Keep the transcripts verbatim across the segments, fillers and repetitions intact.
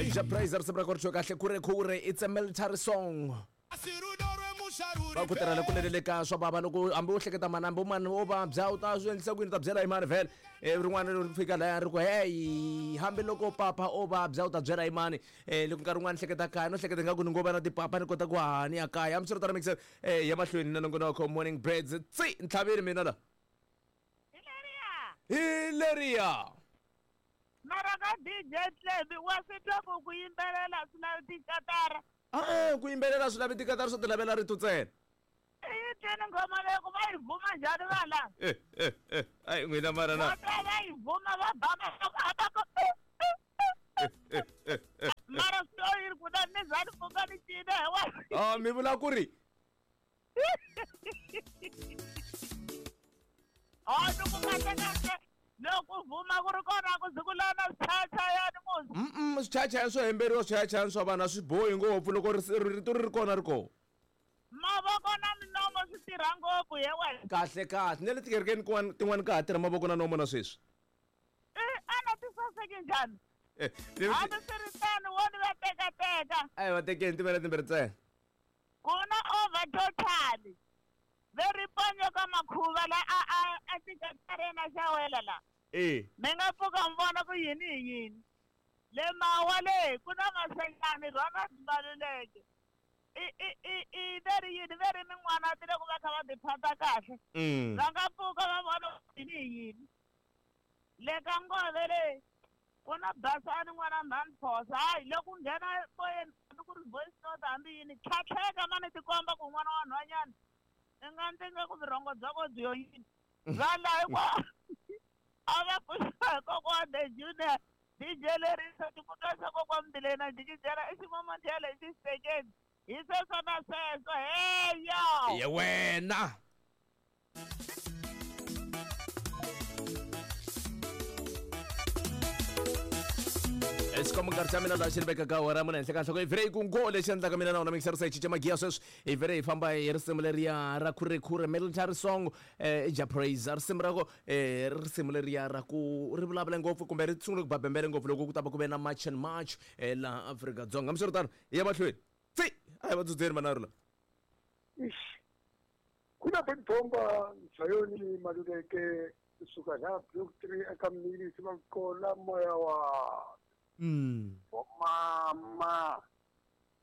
Jah Prayzah risimu ra kona kahle kure kure, it's a military song. Va ku tirhela kunene le ka swa bava loko hambi u hleketa mani, hambi mani wo vabya u ta swi endlisa ku yini, u ta byela hi mani vhele. Rin'wana ri fika laya ri ku hey, hambi loko papa o vabya u ta byela hi mani. Loko nkarhi wun'wana hleketa kaya no hleketa nga ku ni ngo va na tipapa ni kota ku haha ni ya kaya. Hambiswiritano mixer ya mahlweni na nongonoko Morning Birds tsi ntlhaveni mina la hi leriya. Mara ka D J Tlemi wa swi twa ku ku yimbelela swi lavi tikatara. Ah, ku yimbelela swi lavi tikatara, swo ti lavela rito ntsena. I twini nghoma leyi ku va yi vuma njhani vanhu lava? Eh, eh, eh, ai n'wina mara na. Va twa va yi vuma va ba mavoko, a va ku, Eh, eh, eh. Mara swi yi ri ku na ni za ni pfuka ni cina hi wena. Ah, mi vula ku ri Ah, ni ku kahle kahle loko vuma ku ri kona ku ze ku lava na swichayachayani muzi. Mm-mm, swichayachayani swo hemberiwa, swichayachayani swa vanhu a swi bohi ngopfu loko rito ri ri kona ri kona. Mavoko na minomo swi tirha ngopfu he wena. Kahle kahle, na le tikerekeni kun'wana tin'wana ka ha tirha mavoko na nomo na sweswi. I a na ti saseki njhani? Eh, Hambi swi ri tano wo ni va tekateka. A hi va tekeni timela timbirhi ntsena. Ku na over totally. Ve ri ponyo ka makhuva la a a a tikatarena xa wela la. Eh. Mi nga pfuka mi vona ku yini hi yini. Le mawa le ku na masenyani Ronald Maluleke. I i i i ve ri yini, ve ri min'wana ti le ku va kha va tiphata kahle. Mm. Va nga pfuka va vona ku yini hi yini. Le ka ngove le ku na Basani n'wana mhani Phosa. Hayi loko nghena moyeni hambi ku ri voice note hambi yini, tlhatlheka mani tikomba ku n'wana wa nhwanyana i nga ndzi nga ku vurhongo bya ko byi yo yini. Va la hinkwawo a va pfuxiwa hi kokwa the junior D J Lerisa xikundla xa kokwa Mbilena Jikijela i ximomondela i xisekeni hi sweswo na sweswo. Heya ye wena. Xikombo nkarhi xa mina laha xi ri vekaka awara mune henhla ka nhloko. I vhele yi ku ngo lexi endlaka mina na wona mixer se cinca magiya sweswi. I vhele hi famba hi risimu leriya ra khurekhure military song, eh, Jah Prayzah. Risimu ra ko, eh, risimu leriya ra ku ri vulavula ngopfu kumbe ri sungule ku ba bembele ngopfu loko ku ta va ku ve na March and March, eh, laha Afrika-Dzonga. Hambiswiritano hi ya mahlweni. Tsi! A hi va dzudzeni manharhu lawa. Ixi. Ku na Bomba Zayoni Maluleke kusuka laha Block three eka Mnilisi va kola moya wa Mm. Mama.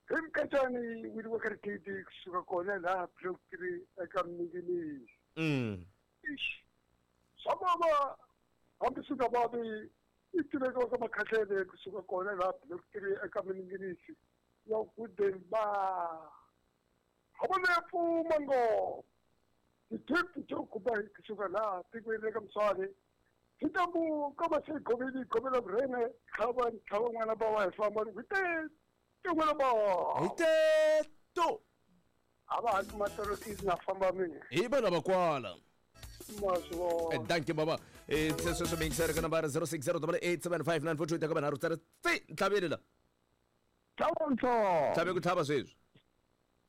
Hi Mkatshani wili wa Karikiti kusuka kona laha Block three eka Mnilisi. Mm. Ixi. Swa mama hambi swi nga vavi i tiveka ka makhahlele kusuka kona laha Block three eka Mnilisi. Ya Golden Bar. Havana pfuma ngopfu. Ti-trip to kuba kusuka laha tikweni ra ka Mswani. Sitambu kama se goveli govela vrene khaba khaba ngwana ba wa famba hi te te ngwana ba. Hi te to. A va ha kuma torokisi na famba mina. Hi vana va kwala. Maswo. Eh, thank you baba. Eh, sweswo swi mixer ka nambara zero six zero double eight seven five nine four two ka vanharhu tsara tsi ntlhaveni la. Tlhavontlho. Tlhave ku tlhava sweswi.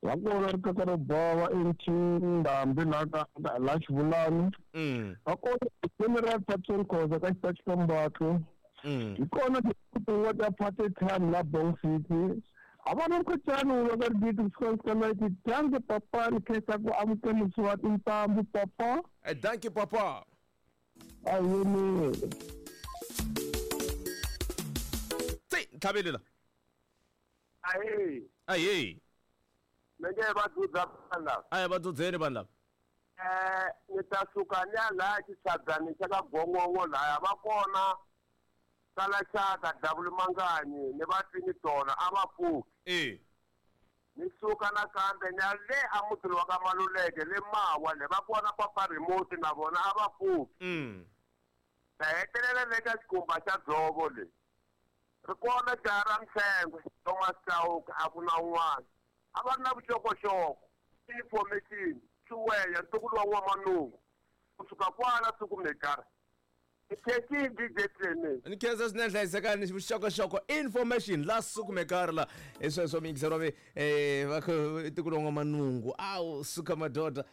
Va kona ri kaka ro bava eNtshindambi la ka la Xivulani. Mm. Va kona General Patson Khoza ka xitachi xa Mbatlo. Mm. Hi kona tin'wana ta Party Time la Bong City. A va na mkhutshani wu va ka rigidi kusuka ka ninety. Dankie papa, ni khensa ku amukelisiwa tintambu papa. Eh, dankie papa. A yimile. Tsi, ntlhaveni la. Ahee. Ahee. Me nge va dzudza vanhu lava. A hi va dzudzeni vanhu lava. Eh, ni ta suka ni ya laya xitshabyani xa ka Gongongo laya va kona Kalaxaka Davulu Manganyi ni va twini tona a va pfuki. Eh. Ni suka nakambe ni ya le a mutini wa ka Maluleke le Mawa le va kona Papa Remote na vona a va pfuki. Mm. Ta hetelela le ka xikhumba xa dzovo le. Ri kona jaha ra Mhlengwe Thomas Chauke a ku na un'wana. A va ri na vuxokoxoko, information, Chiweya ntukulu wa N'wamanungu. Kusuka kwala Sukumekara. Ni D J Clement. Ni khensa swinene hlayisekani vuxokoxoko information la Sukumekara la. Hi sweswo miyingiseri wa mina, eh, va kha ntukulu wa N'wamanungu. Awu, suka madoda.